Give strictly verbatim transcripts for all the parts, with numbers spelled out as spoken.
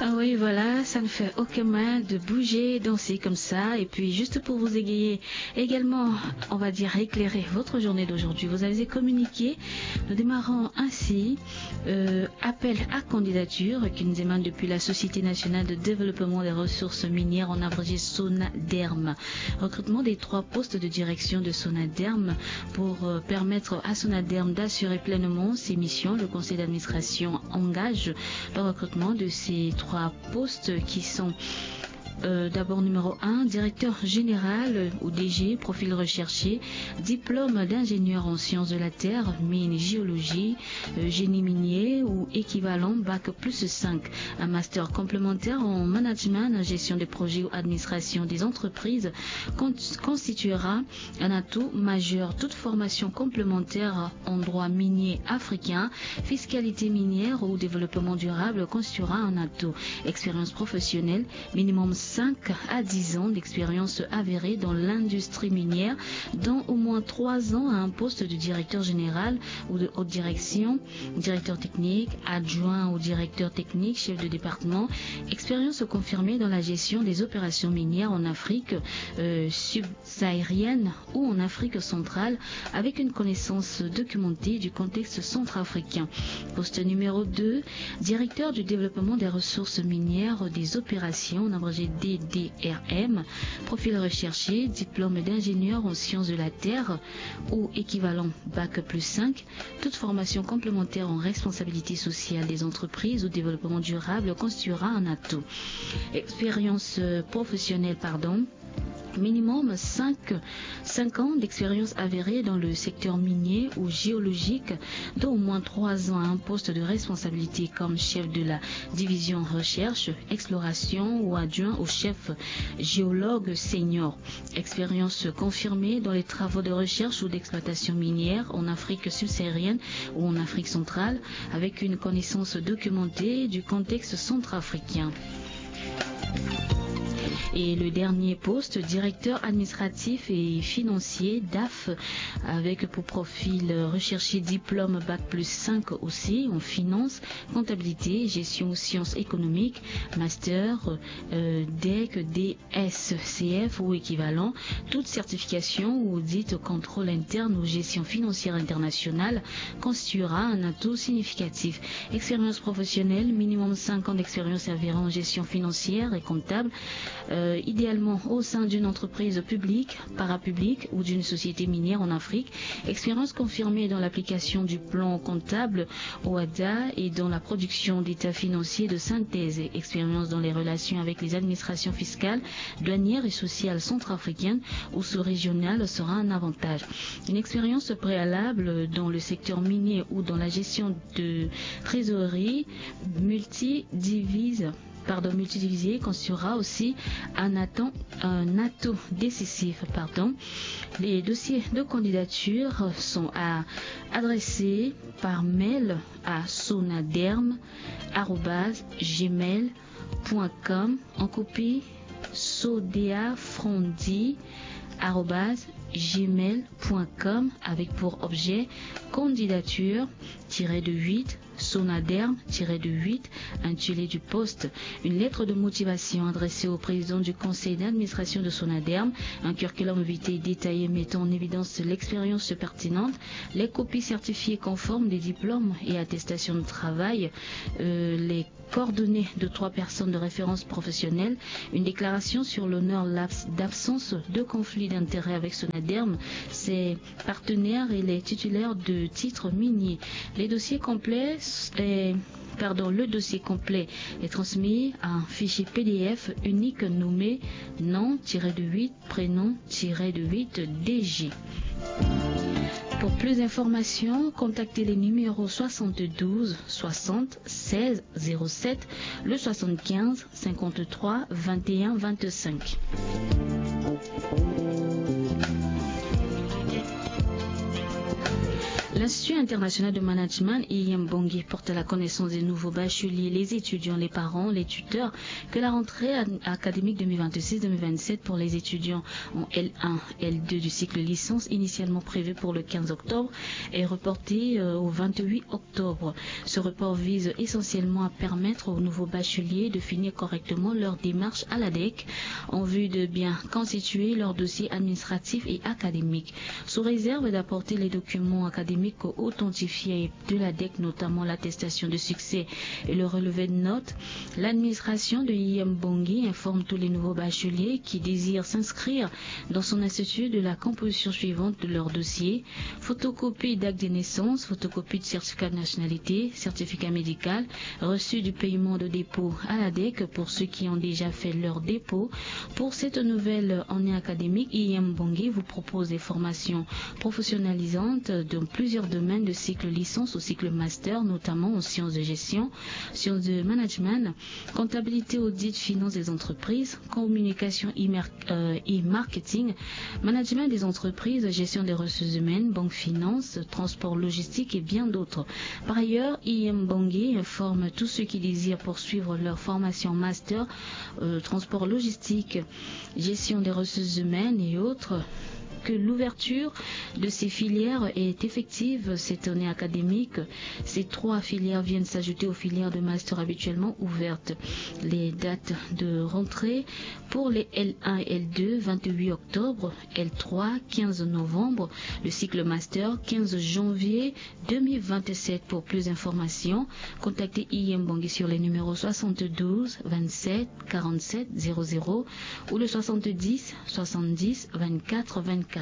Ah oui, voilà, ça ne fait aucun mal de bouger, danser comme ça. Et puis, juste pour vous égayer également, on va dire éclairer votre journée d'aujourd'hui. Vous avez communiqué. Nous démarrons ainsi. Euh, appel à candidature qui nous émane depuis la Société nationale de développement des ressources minières, en abrégé SONADERM. Recrutement des trois postes de direction de SONADERM. Pour euh, permettre à SONADERM d'assurer pleinement ses missions, le conseil d'administration engage le recrutement de ces trois postes qui sont euh, d'abord, numéro un, directeur général ou D G, profil recherché, diplôme d'ingénieur en sciences de la terre, mine, géologie, euh, génie minier ou équivalent, bac plus cinq. Un master complémentaire en management, gestion des projets ou administration des entreprises con- constituera un atout majeur. Toute formation complémentaire en droit minier africain, fiscalité minière ou développement durable constituera un atout. Expérience professionnelle, minimum cinq à dix ans d'expérience avérée dans l'industrie minière, dont au moins trois ans à un poste de directeur général ou de haute direction, directeur technique, adjoint au directeur technique, chef de département. Expérience confirmée dans la gestion des opérations minières en Afrique euh, subsaharienne ou en Afrique centrale, avec une connaissance documentée du contexte centrafricain. Poste numéro deux, directeur du développement des ressources minières des opérations, en abrégé D D R M. Profil recherché, diplôme d'ingénieur en sciences de la terre ou équivalent, bac plus cinq. Toute formation complémentaire en responsabilité sociale des entreprises ou développement durable constituera un atout. Expérience euh, professionnelle, pardon. Minimum cinq, cinq ans d'expérience avérée dans le secteur minier ou géologique, dont au moins trois ans à un poste de responsabilité comme chef de la division recherche, exploration ou adjoint au chef géologue senior. Expérience confirmée dans les travaux de recherche ou d'exploitation minière en Afrique subsaharienne ou en Afrique centrale, avec une connaissance documentée du contexte centrafricain. Et le dernier poste, directeur administratif et financier, D A F, avec pour profil recherché diplôme bac plus cinq aussi en finance, comptabilité, gestion, sciences économiques, master, euh, D E C, D S C F ou équivalent. Toute certification ou audit, contrôle interne ou gestion financière internationale constituera un atout significatif. Expérience professionnelle, minimum cinq ans d'expérience avérée en gestion financière et comptable, euh, idéalement au sein d'une entreprise publique, parapublique ou d'une société minière en Afrique. Expérience confirmée dans l'application du plan comptable OHADA et dans la production d'états financiers de synthèse. Expérience dans les relations avec les administrations fiscales, douanières et sociales centrafricaines ou sous-régionales sera un avantage. Une expérience préalable dans le secteur minier ou dans la gestion de trésorerie multidivise, pardon, multidivisée constituera aussi un atout, un atout décisif. Pardon. Les dossiers de candidature sont à adresser par mail à sonaderm arobase gmail point com, en copie sodeafrondi arobase gmail point com, avec pour objet candidature tiré de huit, SONADERM tiré de huit, intitulé du poste. Une lettre de motivation adressée au président du conseil d'administration de SONADERM, un curriculum vitae détaillé mettant en évidence l'expérience pertinente, les copies certifiées conformes des diplômes et attestations de travail, euh, les coordonnées de trois personnes de référence professionnelle, une déclaration sur l'honneur d'absence de conflit d'intérêts avec SONADERM, ses partenaires et les titulaires de titres miniers. Les dossiers complets, eh, pardon, le dossier complet est transmis à un fichier P D F unique nommé nom tiré de huit prénom tiré de huit D G. Pour plus d'informations, contactez les numéros soixante-douze soixante seize zéro sept, le soixante-quinze cinquante-trois vingt et un vingt-cinq. L'Institut international de management I M Bangui porte à la connaissance des nouveaux bacheliers, les étudiants, les parents, les tuteurs, que la rentrée académique deux mille vingt-six deux mille vingt-sept pour les étudiants en L un, L deux du cycle licence, initialement prévue pour le quinze octobre, est reportée au vingt-huit octobre. Ce report vise essentiellement à permettre aux nouveaux bacheliers de finir correctement leur démarche à l'ADEC en vue de bien constituer leur dossier administratif et académique. Sous réserve d'apporter les documents académiques authentifiés de l'ADEC, notamment l'attestation de succès et le relevé de notes, l'administration de I M Bangui informe tous les nouveaux bacheliers qui désirent s'inscrire dans son institut de la composition suivante de leur dossier: photocopie d'acte de naissance, photocopie de certificat de nationalité, certificat médical, reçu du paiement de dépôt à l'ADEC pour ceux qui ont déjà fait leur dépôt. Pour cette nouvelle année académique, I M Bangui vous propose des formations professionnalisantes dans plusieurs domaines de cycle licence au cycle master, notamment en sciences de gestion, sciences de management, comptabilité, audit, finance des entreprises, communication et mer- euh, et marketing, management des entreprises, gestion des ressources humaines, banque, finance, transport, logistique et bien d'autres. Par ailleurs, I M Bangui informe tous ceux qui désirent poursuivre leur formation master, euh, transport, logistique, gestion des ressources humaines et autres, que l'ouverture de ces filières est effective cette année académique. Ces trois filières viennent s'ajouter aux filières de master habituellement ouvertes. Les dates de rentrée pour les L un et L deux, vingt-huit octobre, L trois, quinze novembre, le cycle master, quinze janvier deux mille vingt-sept. Pour plus d'informations, contactez I M Bangui sur les numéros soixante-douze, vingt-sept, quarante-sept, zéro zéro ou le soixante-dix, soixante-dix, vingt-quatre, vingt-quatre.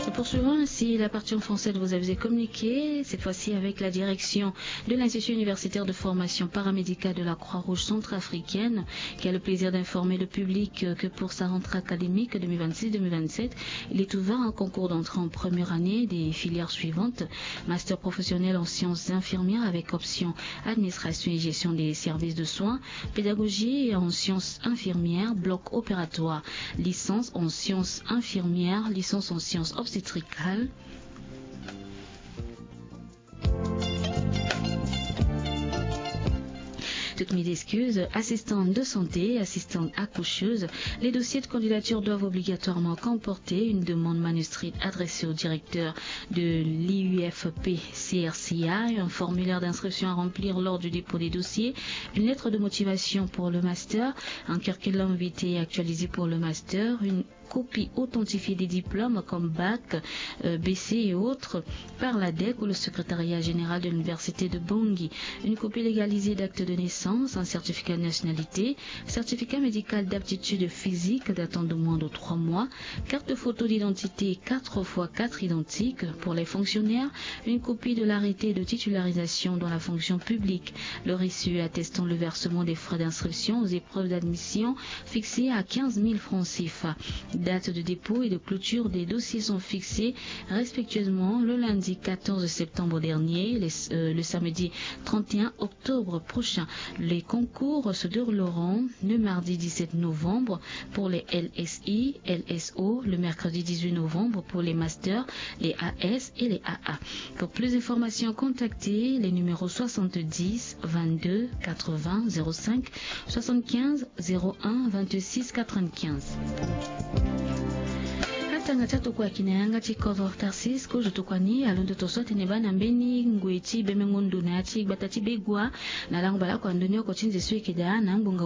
Nous poursuivons ainsi la partie en français de vos avis et communiqués, cette fois-ci avec la direction de l'Institut universitaire de formation paramédicale de la Croix-Rouge centrafricaine, qui a le plaisir d'informer le public que pour sa rentrée académique deux mille vingt-six deux mille vingt-sept, il est ouvert un concours d'entrée en première année des filières suivantes: master professionnel en sciences infirmières avec option administration et gestion des services de soins, pédagogie en sciences infirmières, bloc opératoire, licence en sciences infirmières, licence en sciences obstétricales. Toutes mes excuses, assistante de santé, assistante accoucheuse, les dossiers de candidature doivent obligatoirement comporter une demande manuscrite adressée au directeur de l'I U F P C R C I, un formulaire d'inscription à remplir lors du dépôt des dossiers, une lettre de motivation pour le master, un curriculum vitae actualisé pour le master, une copie authentifiée des diplômes comme bac, euh, B C et autres, par l'ADEC ou le secrétariat général de l'université de Bangui, une copie légalisée d'acte de naissance, un certificat de nationalité, certificat médical d'aptitude physique datant de moins de trois mois, carte photo d'identité quatre fois quatre identique pour les fonctionnaires, une copie de l'arrêté de titularisation dans la fonction publique, le reçu attestant le versement des frais d'inscription aux épreuves d'admission fixé à quinze mille francs C F A. Date de dépôt et de clôture des dossiers sont fixées respectueusement le lundi quatorze septembre dernier, le, euh, le samedi trente et un octobre prochain. Les concours se dérouleront le mardi dix-sept novembre pour les L S I, L S O, le mercredi dix-huit novembre pour les masters, les A S et les A A. Pour plus d'informations, contactez les numéros soixante-dix, vingt-deux, quatre-vingts, zéro cinq, soixante-quinze, zéro un, vingt-six, quatre-vingt-quinze. Atanga ti atokua yeke na yanga ti kodro Tarsis kozo tokua ni alondo to so atene baa na mbeni ngoi ti bemengo ndo na ya ti gbata ti Begua na lango baleoko ya ndoni oko ti nze so yeke daa na ngbonga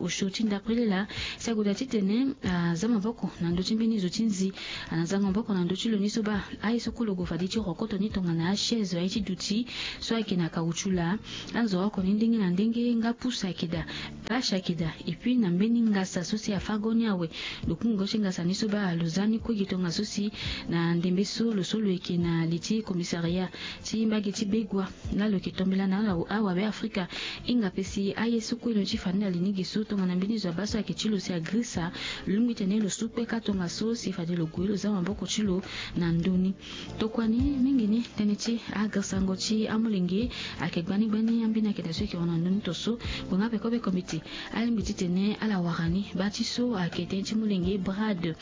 osio ti ndapre lila. Si agoda titene aza maboko na ndö ti mbeni zo ti nzi, ana zanga maboko na ndö ti lo ni so baa aye so kolo gue fade ti rokoto ni tongana achaise aye ti duti so ayeke na caoutchouc laa. Anzo oko ni ndenge na ndenge nga pusa ayeke daa, bâche ayeke daa. Et puis na mbeni ngasa so si afâ go ni awe, lo kungo ti ngasa ni so baa lo za ni kue. Tongaso si na ndembe so lo so lo yeke na li ti commissariat ti mbage ti Begua, na lo yeke tombela na ala awabe afrika. Hinga pe si aye so kue lo ni ti fa ni na li ni ge so tongana mbeni zo abaa so ayeke ti lo si agrisa, lo lingbi titene lo su kpeka tongaso si fade lo gue lo za maboko ti lo na ndö ni. Tokua ni mingi ni tënë ti agrisango ti amolenge ayeke gbani gbani ambeni akete so yeke hon na ndö ni to so. Ngbonga peko peko mbeti alingbi titene ala wara ni baa ti so ayeke tënë ti molenge brad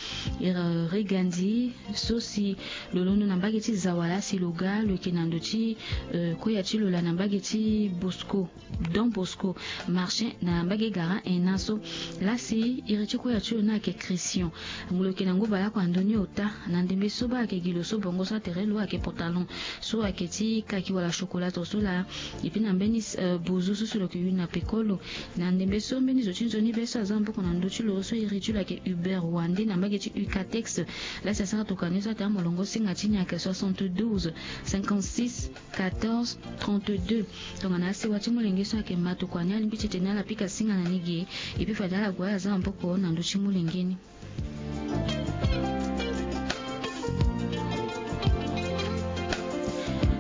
regandi so si lo londo na mbage ti zawala si lo ga lo yeke na ndo ti koya ti lo laa na mbage ti bosco, don bosco marché na mbage gara en na so. Lasi iri ti koya ti lo ni ayeke christian. Ngu lo yeke na ngu baleoko na ndö ni ota na ndembe so baa ayeke gi lo so bongo so atere lo ayeke pantalon so ayeke ti kaki wala chocolat to so laa. Epi na mbeni bozo so si lo yeke yu na peko lo na ndembe so mbeni zo ti nzoni be so aza maboko na ndö ti lo so iri ti lo ayeke hubert wande na mbage ti ucatex. Lasi asara tokua ni so ate amolongo singa ti ni ayeke soixante-douze, cinquante-six, quatorze, trente-deux. Tongana asewa ti molenge so ayeke ma tokua ni alingbi ti tene ala pika singa na ni ge. Epi fade ala gue ala za maboko na ndö ti molenge ni.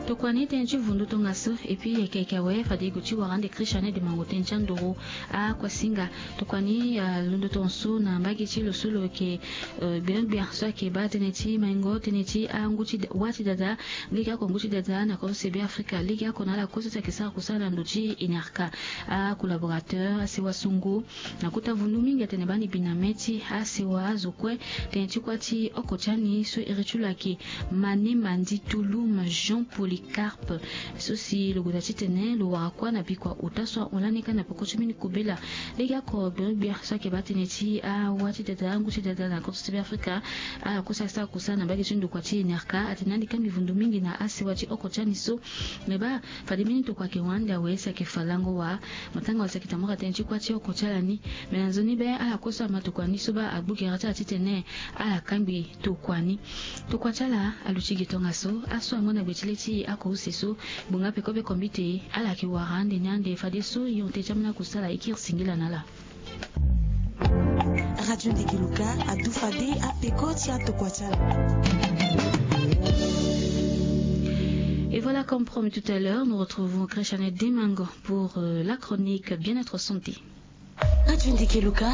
Tokua ni tënë ti vundu tongaso epi yeke yeke awe fade e gue ti wara ande christian ede mango tënë ti andoro. Akuasinga tokua ni alondo tongaso na mbage ti lo so lo yeke gbia so ayeke baa tënë ti maingo tënë ti angu ti wa ti dada. Lege oko ngu ti dada na kozo sebe afrika lege oko na ala kue so si ayeke sara kusala na ndo ti enerka. Acollaborateur asewa songo na kota vundu mingi atene baa ni bi na me ti asewa azo kue. Tënë ti kuâ ti oko ti ani so iri ti lo ayeke mane mandi tulum jean polycarpe so si lo gue daa titene lo wara kuâ na bikua ota so ahon lani kâ na peko ti mbeni kobela. Lege oko gbirigbia so ayeke baa tënë ti awa ti dada angu ti dada na koto ti be afrika. Ala kue so asara kusala na mbage ti ndokua ti enerka atene ande kâ mbi vundu mingi na asewa ti oko ti ani so. Me baa fade mbeni tokua ayeke hon ande awe si ayeke fa lango wa matanga wa si ayeke tambula tënë ti kuâ ti oko ti ala ni. Me na nzoni be ala kue so ama tokua ni so baa agbu gere ti ala titene ala kangbi tokua ni. Tokua ti ala aluti gi tongaso aso ango na gbe ti le ti ako use so. Gbonga peko be kombite ala yeke wara ande ni ande fadeso yonte ti ambeni akusala e kiri singila na ala. Radio Ndeke Luka adu fade apeko ti atokua ti ala. Et voilà, comme promis tout à l'heure, nous retrouvons Christiane Demango pour euh, la chronique Bien-être Santé. Radio Ndeke Luka.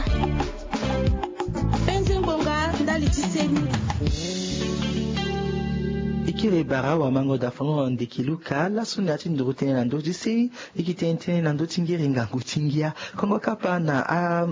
Penze ngbonga ndali ti seni. E kiri bara wamango dafango na Ndeke Luka laso na ya ti nduru tënë na ndö ti seni. E yeke tene tënë na ndö ti ngiri ngangu ti ngia. Kongo kapa na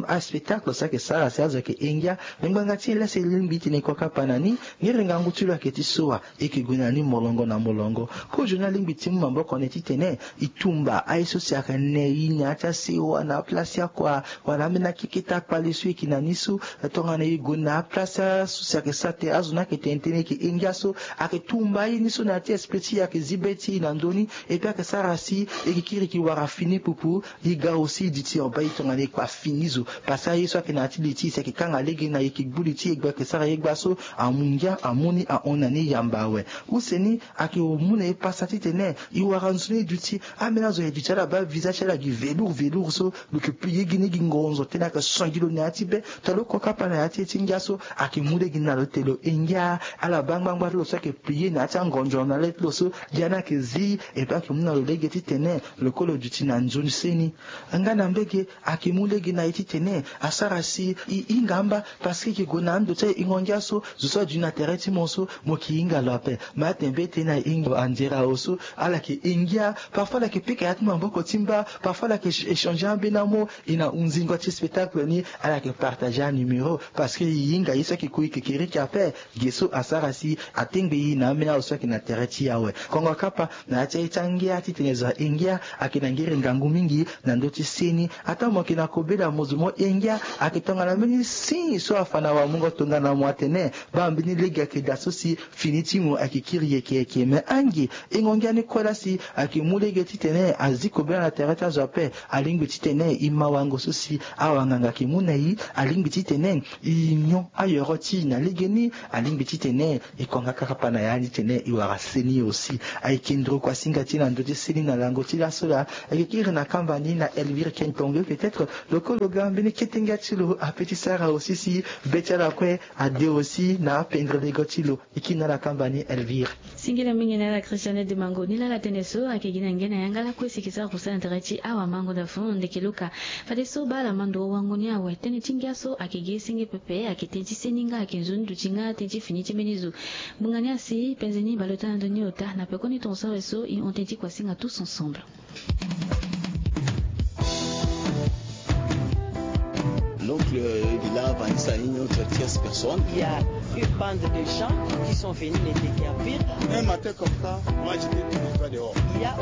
aspectacle so ayeke sara si azo ayeke e ngia. Me ngbanga ti e laa si e lingbi tene kua kapa na ni. Ngiri ngangu ti lo ayeke ti so wa. E yeke gue na ni molongo na molongo. Kozo ni alingbi ti mu maboko na e titene e tumba aye so si ayeke ne e na ya ti asewa na aplace ti akua wala ambeni akeketa kpale so e yeke na ni so. Tongana e gue na aplace so si ayeke sara tene azo ni ayeke tene tënë e yeke e ngia so. Ayeke tumba aye ni so na ya ti esprit ti e ayeke zi be ti e na ndö ni. Epui ayeke sara si e yeke kiri e yeke wara fini pupu. E ga aussi e duti en bas e tongana e kpa fini zo. Parce que aye so ayeke na ya ti li ti e si ayeke kanga lege na e yeke gbu li ti e gba ayeke sara ye gba so. Amu ngia amu ni ahon na ni yamba awe. Use ni ayeke mu na e pasa titene e wara nzoni duti. Ambeni azo ayeke duti ala baa visa ti ala gi velour velour so. Lo yeke plier gi ni gi ngonzo tënë ayeke songi lo na ya ti be. Tongana lo kua kapa na ya ti e ti ngia so. Ayeke mu lege na lo ti tene lo e ngia. Ala baa ngbangba ti lo so ayeke plier na ya ti angonzo na le ti lo so. Gi ani ayeke zi. Epui ayeke mu na lo lege titene lo kue lo duti na nzoni seni. Nga na mbege ayeke mu lege na e titene asara si e hinga amba. Parce que e yeke gue na ando ti ahingo ngia so zo so aduti na tere ti mo so mo yeke hinga lo ape. Me atene be tënë na e hinga anzere awe so. Ala yeke e ngia. Parfois ala yeke pika ya ti maboko ti mba. Parfois ala yeke échanger ambeni amo. E na hunzingo ti spectacle ni. Ala yeke partager anuméro. Parce que e hinga ye so ayeke kue e yeke kiriki ape. Ge so asara si atengbe e na ambeni azo so ayeke na tere ti e awe. Kongo kapa na ya ti aye ti angia titene zo ahe ngia. Ayeke na ngiri ngangu mingi na ndö ti seni. Ataa mo yeke na kobela mo zo mo he ngia. Ayeke tongana mbeni signe so afa na wamungo tongana mo atene baa mbeni lege ayeke daa so si fini ti mo ayeke kiri yeke yeke me ange. Hingo ngia ni kue laa si ayeke mu lege titene azi kobela na tere ti azo ape. Alingbi titene e ma wango so si awanganga ayeke mu na e. Alingbi titene e nyon ayoro ti e na legeni. Alingbi titene e konga kapa na ya ni. Ne i wara seni aussi. Ayeke nduru kuasinga ti na ndö ti seni na lango ti laso laa. Ayeke kiri na kamba ni na Elvire Kentongue, peut-être lokolo ga mbeni ketenga ti lo ape ti sara aussi si be ti ala kue ade aussi na apendre lego ti lo. I kiri na ala kamba ni Elvire. Singila mingi na ala Christiane de Mango. Ni laa ala tene so ayeke gi na nge na yanga lakue si e ke sara kusala na tere ti awamango na fond ndeke luka. Fadeso baa ala ma ndo wango ni awe. Tënë ti ngia so ayeke gi senge pepe, ayeke tënë ti seni nga, ayeke nzoni duti nga tënë ti fini ti mbeni zo. Ngbonga ni asi penze ni baleota na ndö ni ota na pekoni tongaso awe so i hon tënë ti kuasinga tous ensemble. L'oncle Villa Vanessa, une autre tierce personne. Il y a une bande de gens qui sont venus les déguerpir. Un matin comme ça, moi j'étais tous les trois dehors. Il y a